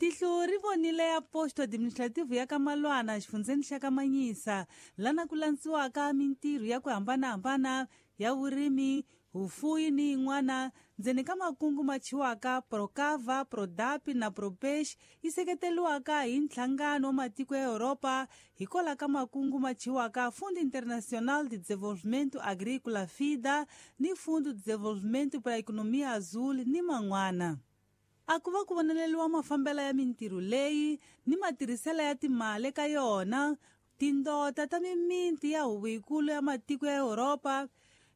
Tihlo ri vonile ya posto administrative ya ka Malwana xifundzeni xa ka Manyisa, lana ku landziwaka mintirho ya ku hambanahambana ya vurimi, vufuwi ni yin'wana ndzeni ka makungu ma chiwaka Procava, Prodapi na Propeixe yi seketeriwaka hi nhlangano wa matiko ya Europa hikwalaho ka makungu ma chiwaka Fundo Internacional de Desenvolvimento Agrícola FIDA ni Fundo de Desenvolvimento para a Economia Azul ni man'wana. A ku va ku voneleriwa mafambelo ya mintirho leyi ni matirhiselo ya timali eka yona, tindota ta mimiti ya huvo yikulu ya matiko ya Europa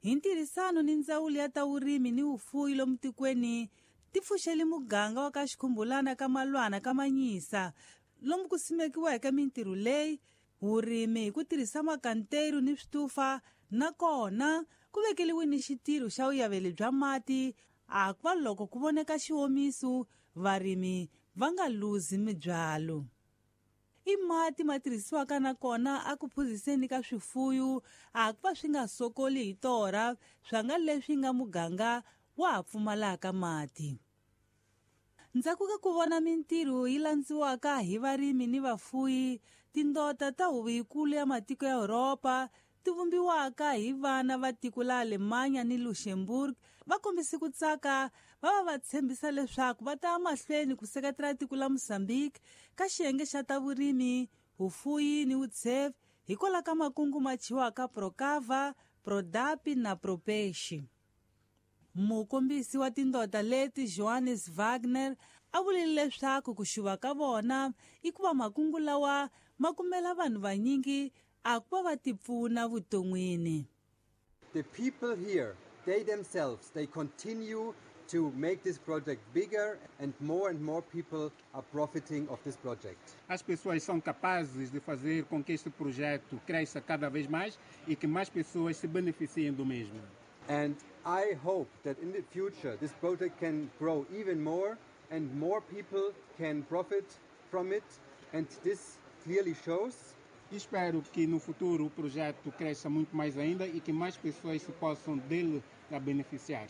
hi ntirhisano ni ndzawulo ya ta vurimi ni vufuwi lomu tikweni ti pfuxele muganga wa ka Xikhumbulana ka Malwana ka Manyisa lomu ku simekiweke mintirho leyi, vurimi hi ku tirhisa makanteru ni switufa, nakona ku vekeliwe ni xitirho xa vuyaveli bya mati a ku va loko ku voneka xiwomiso varimi va nga luzi mibyalo. I mati ma tirhisiwaka nakona a ku phuziseni ka swifuyu a ku va swi nga sokoli hi torha swa nga leswi nga muganga wa ha pfumalaka mati. Ndzhaku ka ku vona mintirho yi landziwaka hi varimi ni vafuyi, tindota ta huvo yikulu ya matiko ya Europa ti vumbiwaka hi vana va tiko la Alemanya ni Luxembourg va kombise ku tsaka va va va tshembisa leswaku va ta mahlweni ku seketela tiko la Mozambique ka xiyenge xa ta vurimi, vufuwi ni vutshevi hikwalaho ka makungu ma chiwaka Procava, Prodapi na Propeixe. Mukombisi wa tindota leti Johannes Wagner a vulile leswaku ku xuva ka vona i ku va makungu lawa ma kumela vanhu vanyingi a ku va va tipfuna vuton'wini. The people here, they themselves, they continue to make this project bigger and more people are profiting of this project. As pessoas são capazes de fazer com que este projeto cresça cada vez mais e que mais pessoas se beneficiem do mesmo. And I hope that in the future this project can grow even more and more people can profit from it, and this clearly shows. Espero que no futuro o projeto cresça muito mais ainda e que mais pessoas se possam dele a beneficiar.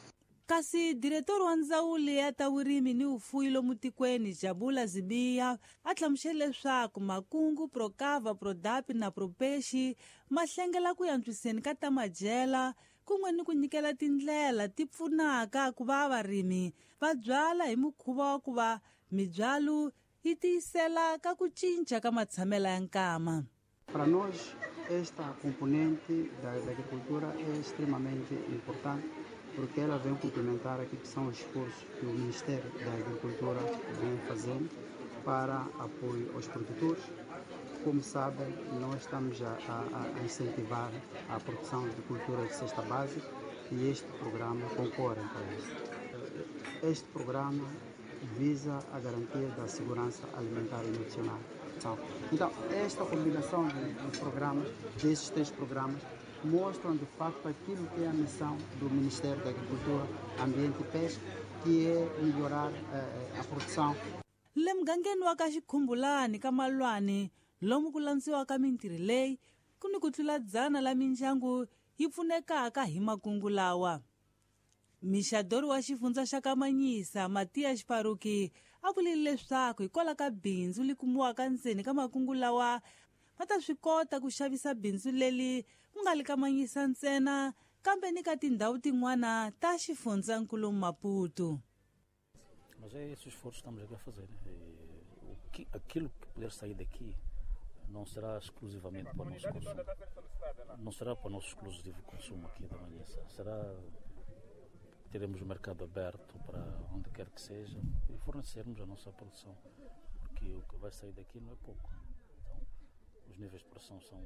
Kasi diretor wa ndzawulo ya ta vurimi ni vufuwi lomu tikweni Jabula Zibiya a hlamusele leswaku makungu Procava, Prodapi na Propeixe ma hlengela ku antswiseni ka ta madyela kun'we ni ku nyikela tindlela ti pfunaka ku va varimi va byala hi mukhuva wa ku va mibyalo yi tiyisela ka ku cinca ka matshamelo ya nkama. Para nós, esta componente da agricultura é extremamente importante porque ela vem complementar aquilo que são os esforços que o Ministério da Agricultura vem fazendo para apoio aos produtores. Como sabem, nós estamos a incentivar a produção de cultura de cesta básica e este programa concorre para isso. Este programa visa a garantia da segurança alimentar e nutricional. Então, esta combinação de programas, desses três programas, mostram de facto aquilo que é a missão do Ministério da Agricultura, Ambiente e Pesca, que é melhorar a produção. Le mugangeni wa ka Xikhumbulani ka Malwani, lomu ku landziwaka mintirho leyi, ku ni ku tlula 100 la mindyangu yi pfunekaka hi makungu lawa. Mixadori wa xifundza xa ka Manyisa, Matias Paruki, a vulile leswaku hikwalaho ka bindzu li kumiwaka ndzeni ka makungu lawa, va ta swi kota ku xavisa bindzu leri ku nga li ka Manyisa ntsena, kambe ni ka tindhawu tin'wana ta xifundzankulu Maputo. Mas é esse esforço que estamos aqui a fazer. E aquilo que puder sair daqui não será exclusivamente para o nosso consumo. Não será para o nosso exclusivo consumo aqui da Manhiça. Será teremos o mercado aberto para onde quer que seja e fornecermos a nossa produção, porque o que vai sair daqui não é pouco. Então, os níveis de produção são